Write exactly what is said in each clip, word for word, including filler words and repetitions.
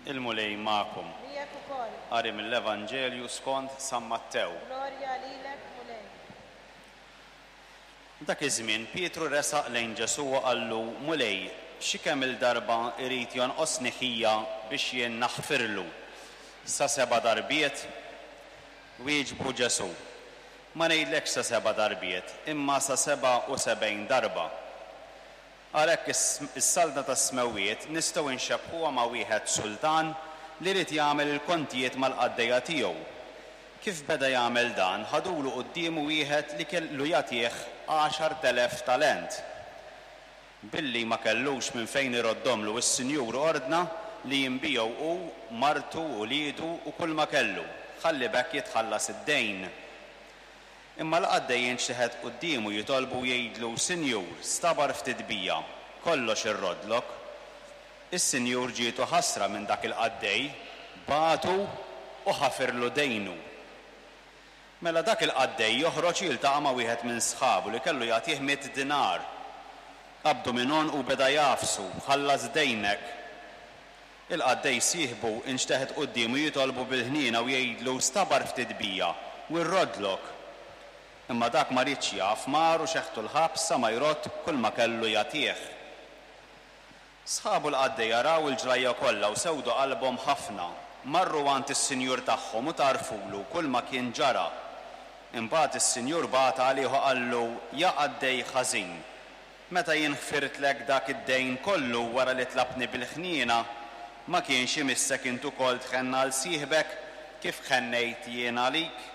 Il-Mulej magħkom. Miegħek ukoll. Qari mill-Evanġelju skont San Mattew. Glorja lilek, Mulej. Dak iż-żmien Pietru resaq lejn Ġesù u qallu: "Mulej, xi kemm il-darba irid jonqosni ħija biex jien naħfirlu? Sa seba' darbiet?" Wieġbu Ġesù: "Ma ngħidlekx sa seba' darbiet, imma sa seba' u sebgħin darba. Għalhekk is-saltna tas-smewwiet nistgħu nxebbħuha ma' wieħed sultan li ried jagħmel il-kontijiet mal-qaddejja tiegħu. Kif beda jagħmel dan, ħadulu quddiemu wieħed li kellu jagħtih għaxart elef talent. Billi ma kellux minn fejn iroddomlu, is-Sinjur ordna li jinbiegħu hu, martu, uliedu u kull ma kellu, ħalli b'hekk jitħallas id-dejn. Imma l-qaddej inxteħet quddiemu jitolbu jgħidlu: 'Sinjur, stabar ftit bija, kollox irroddlok.' Is-Sinjur ġietu ħasra minn dak il-qaddej, bagħtu u ħafirlu dejnu. Mela dak il-qaddej joħroġ jiltaqa' ma' wieħed minn sħabu li kellu jagħtih mitt dinar. Qabdu minn għonqu u beda jagħfsu: 'Ħallas dejnek.' Il-qaddej sieħbu inxteħet quddiemu jitolbu bil-ħniena u jgħidlu: 'Stabar ftit bija u rroddlok.' Imma dak ma riedx jaf, mar u xeħtu l-ħabs sa ma jrodd kull ma kellu jagħtih. Sħabu l-qaddejja raw il-ġrajja kollha u sewdu qalbhom ħafna. Marru għand is-sinjur tagħhom u tarfulu kull ma kien ġara. Imbagħad is-sinjur bagħat għalih u qallu: 'Ja qaddej ħażin, meta jien ħfirtlek dak id-dejn kollu wara li tlabtni bil-ħniena, ma kienx imissek int ukoll tħenn għal sieħbek kif ħennejt jien għalik?'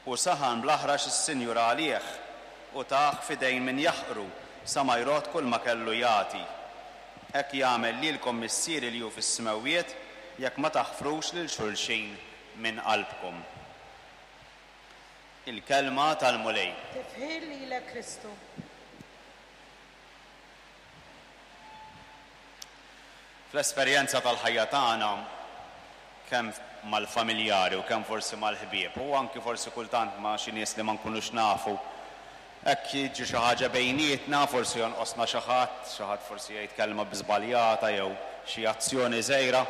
U saħan bl-aħrax is-sinjur għalih u tah f'idejn min jaħqru sa ma jrodd kull ma kellu jagħti. Hekk jagħmel lilkom Missieri li hu fis-smewwiet jekk ma taħfrux lil xulxin minn qalbkom." Il-kelma tal-Mulej. Tifħir lilek, Kristu. Fl-esperjenza tal-ħajja tagħna, kemm mal-familjari u kemm forsi mal-ħbieb, u anki forsi kultant ma' xi nies li ma nkunux nafu, hekk jiġi xi ħaġa bejnietna, forsi jonqosna xi ħadd, xi ħadd forsi jgħid kelma biżbaljata jew xi azzjoni żgħira,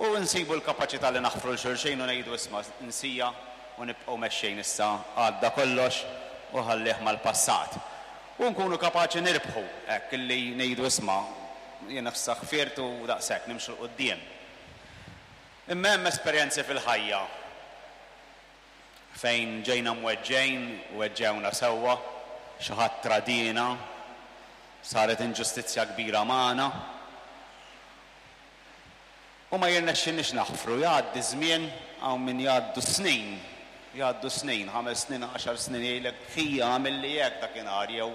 u nsibu l-kapaċità li naħfru l xulxin u ngħidu isma' nsija u nibqgħu mexxejn issa, għadda kollox u ħallih mal-passat. U nkunu kapaċi nirbħu hekk illi ngħidu isma' jien issa ħfirt u daqshekk nimxu 'l quddiem. Imma hemm esperjenzi fil-ħajja fejn ġejna mweġġejn, weġġewna sewwa, xi ħadd tradina, saret inġustizzja kbira magħna. U ma jirnexxinniex naħfru, jgħaddi żmien, hawn min jgħaddu snin, jgħaddu snin, ħames snin, għaxar snin, jgħidlek ħija għamilli hekk dakinhar, jew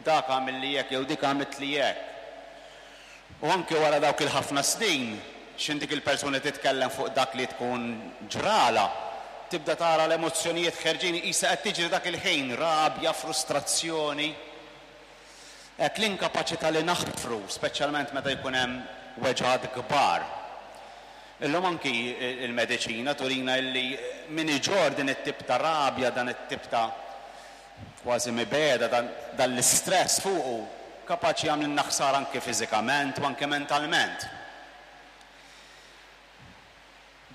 dak għamilli hekk, jew dik għamiltli hekk. U anke wara dawk il-ħafna snin, x'in dik il-persuna titkellem fuq dak li tkun ġrala, tibda tara l-emozzjonijiet ħerġin qisha qed tiġri dak il-ħin, rabja, frustrazzjoni. Hekk l-inkapaċità li naħfru, speċjalment meta jkun hemm weġgħat kbar. Illum anki il-mediċina turina illi min iġorr din it-tip ta' rabja, dan it-tip ta' kważi mibegħda, dan, dan l-istress fuqu, kapaċi jagħmlilna ħsara anke fiżikament u anke mentalment.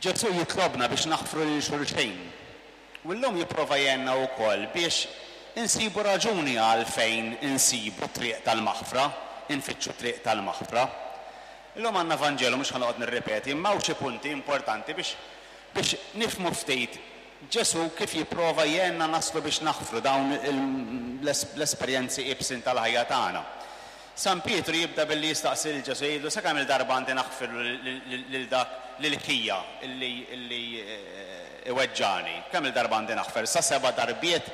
Ġesù jitlobna biex naħfru lil xulxin. U llum jipprova jgħinna wkoll biex insibu raġuni għalfejn insibu triq tal-maħfra, infittxu triq tal-maħfra. Illum għandna Vanġelu, mhux ħa noqgħod nirripeti, imma hawn xi punti importanti biex, biex nifhmu ftit Ġesù kif jipprova jgħinna naslu biex naħfru dawn il-, l-esperjenzi iebsin tal-ħajja tagħna. San Pietru jibda billi jistaqsi lil Ġesù, jgħidlu sa kemm il-darba għandi naħfirlu lil dak lil ħija illi, illi iweġġani. Kemm il-darba għandi naħfer? Sa seba' darbiet.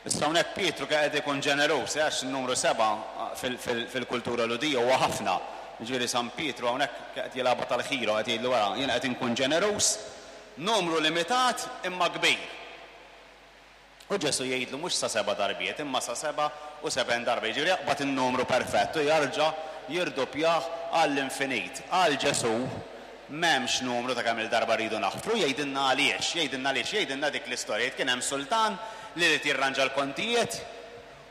Issa hawnhekk Pietru qed ikun ġeneruż, għax in-numru seba' fil-, fil-, fil-kultura Lhudija huwa ħafna. Jiġifieri San Pietru hawnhekk qed jilgħabha tal-ħira, qed jgħidlu wara, jien qed inkun ġeneruż, numru limitat imma kbir. U Ġesù jgħidlu mhux sa seba' darbiet, imma sa seba' u sebgħin darba. Jiġifieri jaqbad in-numru perfett u jarġa' jirdoppjah għall-infinit. Għal Ġesù m'hemmx numru ta' kemm il-darba rridu naħfru, jgħidilna għaliex, jgħidilna għaliex, jgħidilna dik l-istorja. Jgħid kien hemm sultan li rid jirranġa l-kontijiet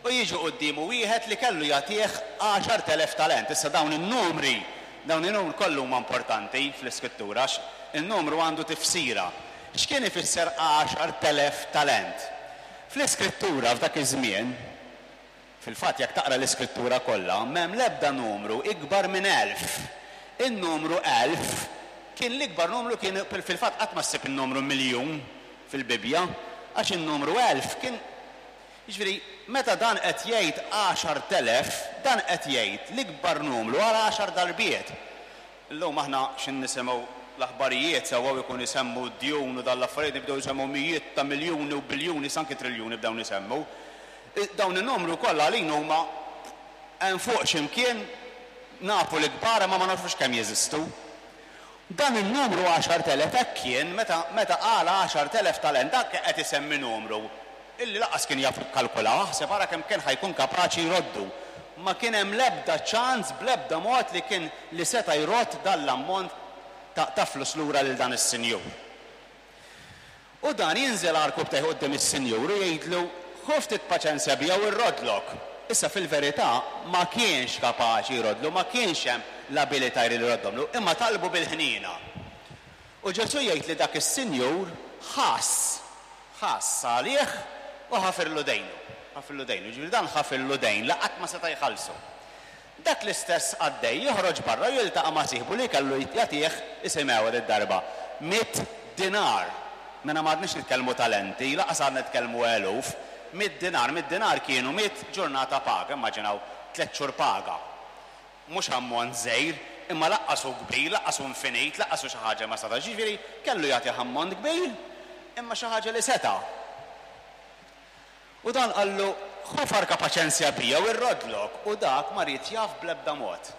u jiġu quddiemu wieħed li kellu jagħtih għaxart elef talent. Issa dawn in-numri Dawn in-numru kollu huma importanti fl-Iskrittura għax in-numru għandu tifsira. X'kien ifisser għaxart elef talent? Fl-Iskrittura f'dak iż-żmien, fil-fatt jekk taqra l-Iskrittura kollha, m'hemm l-ebda numru ikbar minn elf. In-numru elf kien l-ikbar numru, kien fil-fatt qatt ma ssib in-numru miljun fil-Bibbja, għax in-numru elf kien, jiġifieri meta dan qed jgħid għaxart elef, dan qed jgħid l-ikbar numru għal għaxar darbiet. Illum aħna x'in nisimgħu l-aħbarijiet sewwa u jkun isemmu d-djun u dan l-affarijiet, nibdew isemmu mijiet ta' miljuni u biljuni, sanki triljuni bdew nisemmu. Dawn in-numru kollha għalina huma hemm fuq x'imkien, nafu l-ikbar ma ma nafux kemm jeżistu. Dan in-numru għaxart elef hekk kien meta, meta qal għaxart elef talent, dak qed isemmi numru illi laqas kien jaf jikkalkula, aħseb ara kemm kien ħajkun kapaċi jroddu. Ma kien hemm l-ebda ċans bl-ebda mod li kien li seta' jrod dan l-ammont ta', ta' flus lura lil dan is-sinjur. U dan jinżel għarkupptejh quddiem is-sinjur u jgħidlu, ħu ftit paċenzja bija u rrodlok. Issa fil-verità ma kienx kapaċi jrodlu, ma kienx hemm l-abilità li jroddomlu, imma talbu bil-ħniena. U Ġesù jgħid li dak is-sinjur ħass, ħass għalih u ħafirlu dejnu. Ħafirlu dejnu, ġifieri dan ħafirlu dejn li qatt ma seta' jħallsu. Dak l-istess qaddej joħroġ barra u jiltaqa' ma' sieħbu li kellu jagħtih, isimgħu id-darba, mitt dinar. Mela ma għadniex nitkellmu talenti, laqas għadna nitkellmu eluf, mitt dinar, mitt dinar kienu mitt ġurnata paga, immaġinaw tliet xhur paga. Mhux ammont żgħir, imma laqqas hu kbir, laqqas hu infinit, laqqas hu xi ħaġa ma setax, ġifieri kellu jagħtih ammont kbir, imma xi ħaġa li seta'. U dan qallu, ħu farka paċenzja bija u rrodlok, u dak ma ried jaf bl-ebda mod.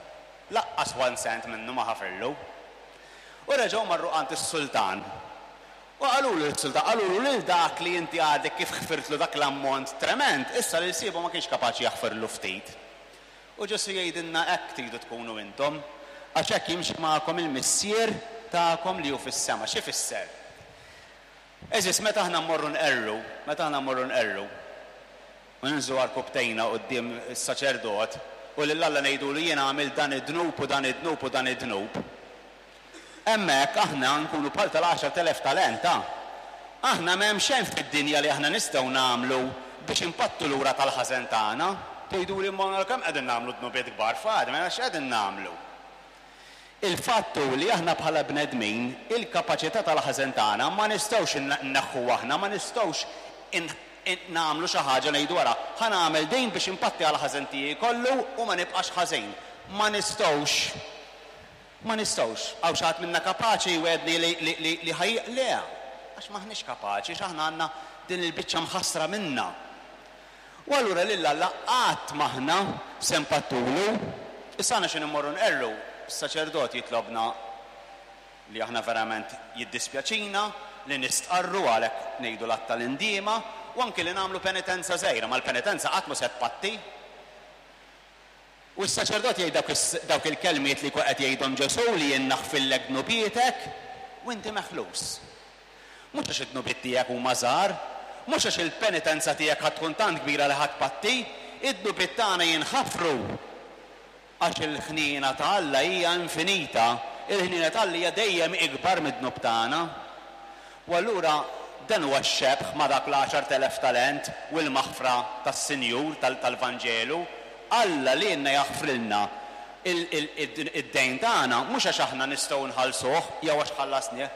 Laqqas one cent minnu ma ħafirlu. U reġgħu marru għand is-sultan. U qalulu lis-sultan, qalulu lil dak li inti għadek kif ħfirtlu dak l-ammont trement, issa lil siebu ma kienx kapaċi jaħfirlu ftit. U Ġesù jgħidilna hekk tridu tkunu intom, għax hekk jimxi magħkom il-Missier tagħkom li hu fis-sema. Xi fisser? Eżis, meta aħna mmorru nqerru, meta aħna mmorru nqerru, u ninżlu għarkupptejna quddiem is-saċerdot u lil Alla ngħidulu jiena għamilt dan id-dnub u dan id-dnub u dan id-dnub. Hemmhekk aħna nkunu bħal tal-għaxart elef talent, ha? Aħna m'hemm xejn fid-dinja li aħna nistgħu nagħmlu biex impattu lura tal-ħażen tagħna. Tgħiduli imma kemm qegħdin nagħmlu dnubiet kbar f'għad, mela x'qegħdin nagħmlu? Il-fatt hu li aħna bħala bnedmin il-kapaċità tal-ħażen tagħna ma nistgħux nneħħu aħna, ma nistgħux in-, in-, nagħmlu xi ħaġa ngħidu wara, ħa nagħmel din biex impatti għal ħażen tiegħi kollu u ma nibqax ħażin. Ma nistgħux. Ma nistgħux. Hawn xi ħadd minna kapaċi jwedni li, li, li, li ħaj, le, għax m'aħniex kapaċi, għax aħna għandna din il-biċċa mħassra minna. U allura lil Alla qatt m'aħna se npattulu. Issa aħna xi nimmorru nqerru, is-saċerdot jitlobna li aħna verament jiddispjaċina, li nistqarru għalhekk ngħidu l-att tal-indiema, u anki li nagħmlu penitenza żgħira, ma l-penitenza qatt mhu se tpatti. U s-saċerdot jgħid dawk is-, dawk il-kelmiet li qed jgħidhom Ġesù li jien naħfillek dnubietek u inti meħlus. Mhux għax id-dnubiet tiegħek huma żgħar, mhux għax il-penitenza tiegħek ħadd tkun tant kbira li ħadd patti, id-dnubiet tagħna jinħafru għax il-ħniena ta' Alla hija infinita, il-ħniena ta' Alla hija dejjem ikbar mid-dnub tagħna. U allura dan huwa x-xebh ma' dak l-għaxart elef talent u l-maħfra tas-Sinjur tal-, tal-Vanġelu. Alla li jenna jaħfrilna il-, il-, il-, id-dejn tagħna mhux għax aħna nistgħu nħallsuh jew għax ħallasnieh,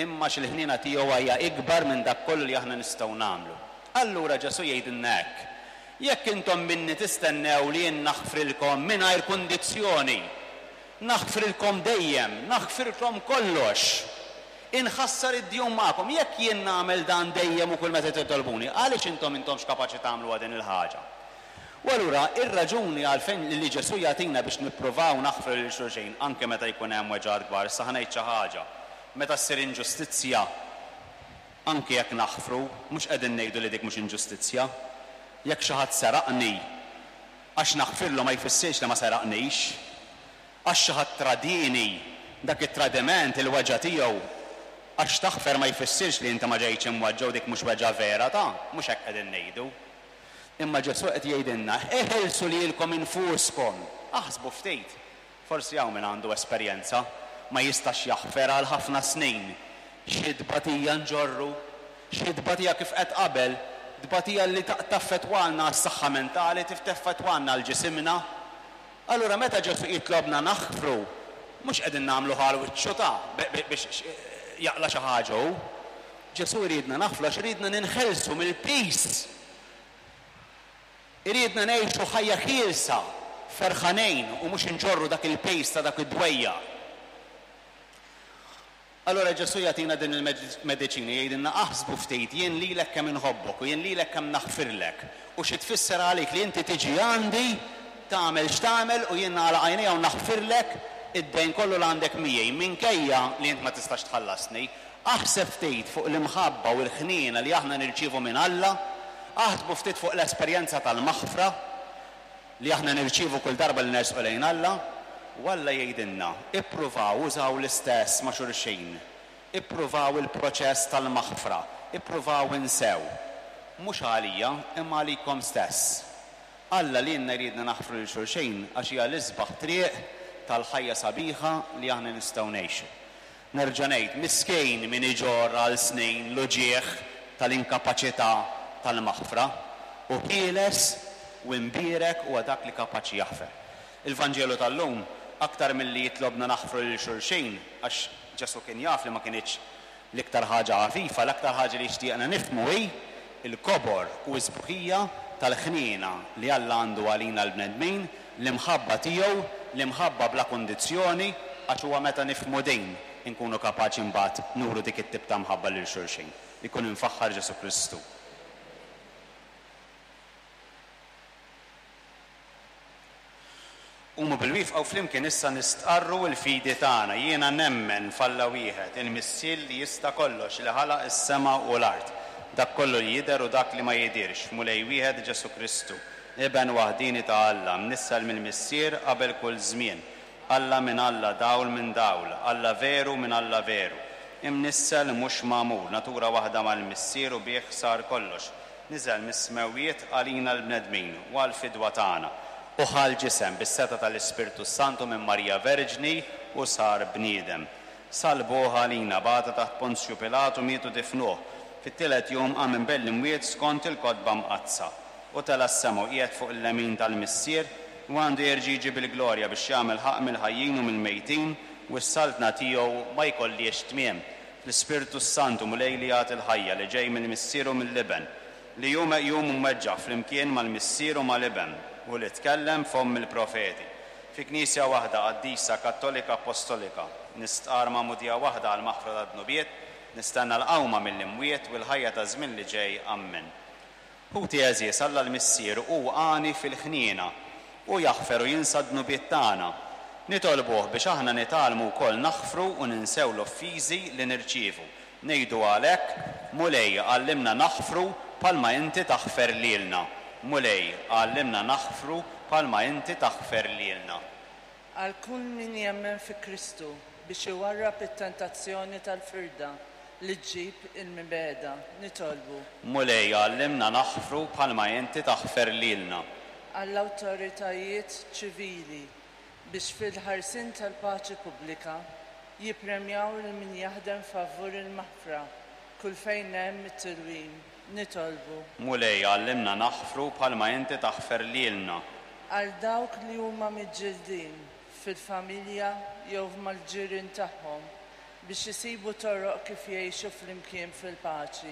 imma għax il-ħniena tiegħu hija ikbar minn dak kollu li aħna nistgħu nagħmlu. Allura Ġesù jgħidilna hekk: jekk intom minni tistennew li jien naħfrilkom mingħajr kundizzjoni, naħfrilkom dejjem, naħfrilkom kollox, inħassar id-djun magħkom, jekk jien nagħmel dan dejjem u kull meta titolbuni, għaliex intom intomx kapaċi tagħmlu din il-ħaġa? U allura ir-raġuni għalfejn li Ġesù jagħtina biex nippruvaw naħfru lil xulxin anke meta jkun hemm weġgħat kbar, issa ħa ngħid xi ħaġa. Meta ssir inġustizzja, anke jekk naħfru, mhux qegħdin ngħidu li dik mhux inġustizzja. Jekk xi ħadd seraqni, għax naħfirlu ma jfissirx li ma seraqnix. Għax xi ħadd tradini, dak it-tradiment il-weġgħa tiegħu, għax taħfer ma jfissirx li inti ma ġejtx imweġġa' u dik mhux weġgħa vera ta', mhux hekk qegħdin ngħidu. Imma Ġesù qed jgħidilna, eħelsu lilkom infuskom. Aħsbu ftit. Forsi hawn min għandu esperjenza ma jistax jaħfer għal ħafna snin. Xi tbatija nġorru, xi tbatija kif qed qabel, tbatija li taffettwalna s-saħħa mentali, taffettwalna l-ġisimna. Allura meta Ġesù jitlobna naħfru, mhux qegħdin nagħmlu ħal wiċċu ta' biex jaqla' xi ħaġa hu. Ġesù jridna naħfru għax iridna ninħelsu mill-piż. Iridna ngħixu ħajja ħielsa, ferħanin u mhux inġorru dak il-piż ta' dak id-dwejjaq. Allura Ġesù jagħtina din il-mediċina, jgħidilna aħsbu ftit, jien lilek kemm inħobbok u jien lilek kemm naħfirlek. U xi tfisser għalik li inti tiġi għandi, tagħmel x'tagħmel u jien nagħlaq għajnejja u naħfirlek id-dejn kollu li għandek miegħi, minkejja li int ma tistax tħallasni. Aħseb ftit fuq l-imħabba u l-ħniena li aħna nirċievu minn Alla, aħsbu ftit fuq l-esperjenza tal-maħfra li aħna nirċievu kull darba li nersqu lejn Alla. U Alla jgħidilna, ippruvaw użaw l-istess ma' xulxin, ippruvaw il-proċess tal-maħfra, ippruvaw insew. Mhux għalija, imma għalikom stess. Alla lilna jridna naħfru lil xulxin għax hija l-isbaħ triq tal-ħajja sabiħa li aħna nistgħu ngħixu. Nerġa' ngħid, miskin min iġorr għal snin l-uġigħ tal-inkapaċità tal-maħfra u ħieles u imbierek huwa dak li kapaċi jaħfer. Il-Vanġelu tal-lum aktar milli jitlobna naħfru lil xulxin, għax Ġesù kien jaf li ma kinitx l-iktar ħaġa ħafifa, l-aktar ħaġa li jixtieqna nifhmu hi il-kobor u s-sbuħija tal-ħniena li Alla għandu għalina l-bnedmin, l-imħabba tiegħu, l-imħabba bla kundizzjoni, għax huwa meta nifhmu din inkunu kapaċi mbagħad nuru dik it-tip ta' mħabba lil xulxin. Ikun imfaħħar Ġesù Kristu. Qumu bil-wifqa u flimkien issa nistqarru l-fidi tagħna. Jiena nemmen f'Alla wieħed, il-Missier li jista' kollox, li ħalaq is-sema u l-art, dak kollu li jidher u dak li ma jidhirx, f'Mulej wieħed Ġesù Kristu, Iben waħdini ta' Alla, mnissel mill-Missier qabel kull żmien, Alla minn Alla, dawl minn dawl, Alla veru minn Alla veru, imnissel mhux magħmul, natura waħda mal-Missier u bih sar kollox, niżel mis-smewwiet għalina l-bnedmin u għall-fidwa tagħna. U ħa l-ġisem bis-setgħa tal-Ispirtu Santu minn Marija Verġni u sar bniedem. Salbuh għalina, bata taħt Ponzju Pilatu, mietu difnuh. Fit-tielet jum qam minn bejn l-imwiet skont il-kotba mqaddsa. U tela' s-sema u qiegħed fuq il-lemin tal-Missier u għandu jerġa' jiġi bil-glorja biex jagħmel ħaqq mill-ħajjin u mill-mejtin u s-saltna tiegħu ma jkollhiex tmiem. L-Ispirtu Santu Mulej li jagħti l-ħajja li ġej mill-Missier u mill-Iben, li hu meqjum u mweġġa' flimkien mal-Missier u mal-Iben, u li tkellem fomm il-profeti. Fi Knisja waħda qaddisa Kattolika Apostolika, nistqar magħmudija waħda għal maħfra tad-dnubiet, nistenna l-qawma mill-imwiet u l-ħajja ta' żmien li ġej. Ammen. Ħuti għeżież, Alla l-Missier hu għani fil-ħniena u jaħfer u jinsa d-dnubiet tagħna. Nitolbuh biex aħna nitgħallmu wkoll naħfru u ninsew l-offiżi li nirċievu. Ngħidu għalhekk, Mulej, għallimna naħfru bħalma inti taħfer lilna. Mulej, għallimna naħfru bħalma inti taħfer lilna. Għal kull min jemmen fi Kristu biex iwarrab it-tentazzjoni tal-firda li ġġib il-mibegħda, nitolbu. Mulej, għallimna naħfru bħalma inti taħfer lilna. Għall-awtoritajiet ċivili biex fil-ħarsien tal-paċi pubblika jippremjaw lil min jaħdem favur il-maħfra kull fejn hemm it-tilwim, nitolbu. Mulej, għallimna naħfru bħalma inti taħfer lilna. Għal dawk li huma miġġildin fil-familja jew mal-ġirien tagħhom biex isibu toroq kif jgħixu flimkien fil-paċi,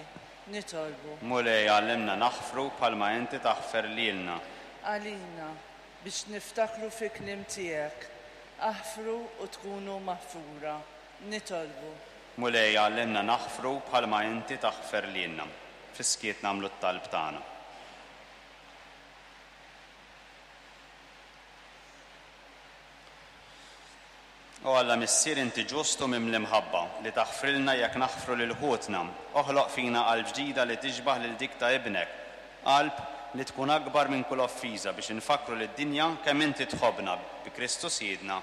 nitolbu. Mulej, għallimna naħfru bħalma inti taħfer lilna. Għalina biex niftakru fi kliem tiegħek, aħfru u tkunu maħfura, nitolbu. Mulej, għallimna naħfru bħalma inti taħfer lilna. Fis-skiet nagħmlu t-talb tagħna. O Alla Missier, inti ġustu mimli mħabba li taħfrilna jekk naħfru lil ħutna. Oħloq fina qalb ġdida li tixbaħ lil dik ta' ibnek, qalb li tkun akbar minn kull offiża biex infakkru lid-dinja kemm inti tħobbna bi Kristu Sidna.